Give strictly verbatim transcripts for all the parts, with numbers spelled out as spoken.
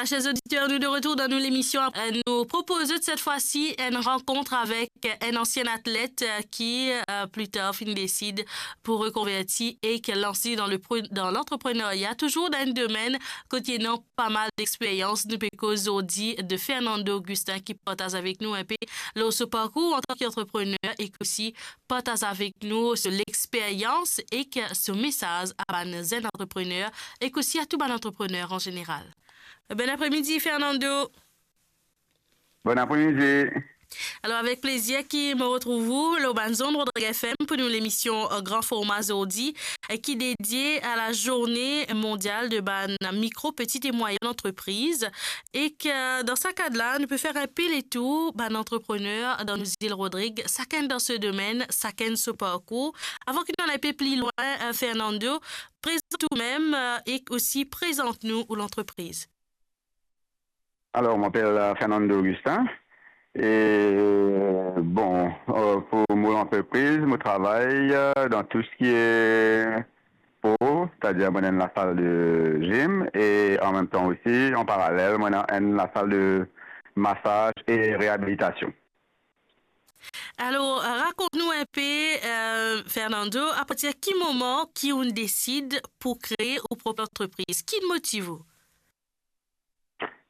Chers auditeurs, nous de retour dans nos émissions. Euh, nous proposons cette fois-ci une rencontre avec un ancien athlète, euh, qui, euh, plus tard, fin décide pour reconvertir et qui lance dans le pre-, dans l'entrepreneuriat, toujours dans un domaine kot li ena pa mal d'expérience. Nou pe koz zordi de Fernando Augustin ki partaz avek nou inpe lor so parkour antan ki antreprener ek osi partaz avek nou so lexperyans ek so mesaz a bann zenn antreprener ek osi a tou bann antreprener an zeneral. Bon apremidi, Fernando. Bon apremidi. Alor, avek plezir ki mo retrouv ou lor bann zond Rodrig F M pou nou lemision, euh, Gran Forma zordi, euh, ki dedie a la Zourne Mondial de bann mikro, peti e mwayenn antrepriz. Ek, euh, dan sa kad la, nou pe fer inpe letour bann antreprener dan nou zil Rodrig, sakenn dan so domenn, sakenn so parkour. Avan ki nou al inpe pli lwin, euh, Fernando, prezant ou mem, euh, ek osi prezant nou ou lantrepriz. Alors, je m'appelle, euh, Fernando Augustin. Et, euh, bon, euh, pour mon entreprise, je travaille, euh, dans tout ce qui est sport, c'est-à-dire, moi, dans la salle de gym et en même temps aussi, en parallèle, moi, dans la salle de massage et réhabilitation. Alor, rakont nou inpe, euh, Fernando, apartir ki moman ki ou desid pou kree ou prop antrepriz? Ki motiv ou?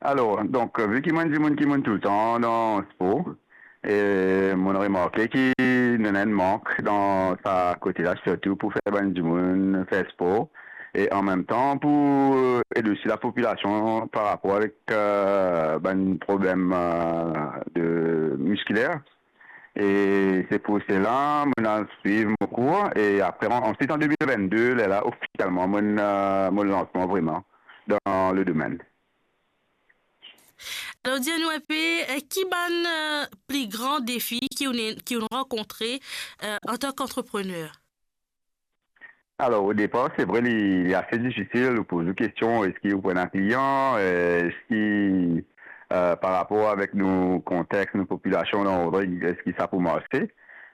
Alor, donk, vi ki mo enn dimoun ki mo toultan dan spor, e mo remarke ki nou ena enn mank dan sa kote la, sirtou pou fer bann dimoun fer spor, e an mem tan pou ed osi lapopilasion par rapor avek, euh, bann problem, euh, de miskiler. E se pou sela, mo al swiv mo kour, e apre, an, ansuit, an de mil vennde, lerla, ofisialman, mo, euh, mo lans mwa vreman dan le domenn. Alor, dir nou inpe, euh, ki bann, euh, pli gran defi ki ou ne-, ki ou rankontre, euh, antan ki antreprener? Alor, o depar, se vre, li, li ase difisil. Ou poz ou kestion, eski ou pou ena klian, euh, eski, euh, par rapor avek nou kontex, nou popilasion dan Rodrig, eski sa pou marse?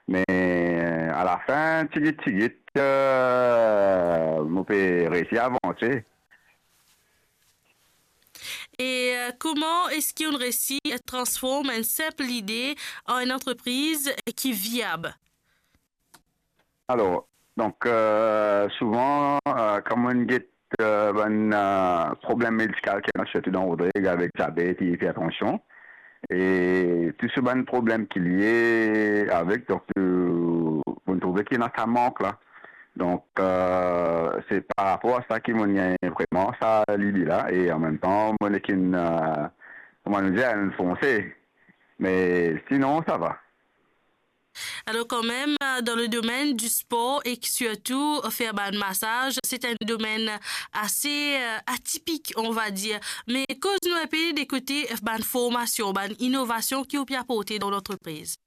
Me, euh, alafin, tigit, tigit, euh, mo pe resi avanse. E, euh, kouma eski ou resi transform enn sinp lide an enn antrepriz ki viab? Alor, donk, euh, souvan, euh, kan mo get, euh, bann, euh, problem medikal ki ena, sirtou dan Rodrig avek diabet e ipertansion, e tou so bann problem ki lie avek, donk, euh, mo trouve ki ena sa mank la. Donk, euh, se par rapor a sa ki mo gagn vreman sa lide la, e an mem tan, mo nek enn, euh, kouma nou dir, enn fonse. Me sinon, sa va. Alor, kanmem, euh, dan le domenn di spor ek sirtou fer bann masaz, se enn domenn ase, euh, atipik, on va dir. Me koz nou inpe de kote bann formasion, bann inovasion ki ou pe aporte dan lantrepriz.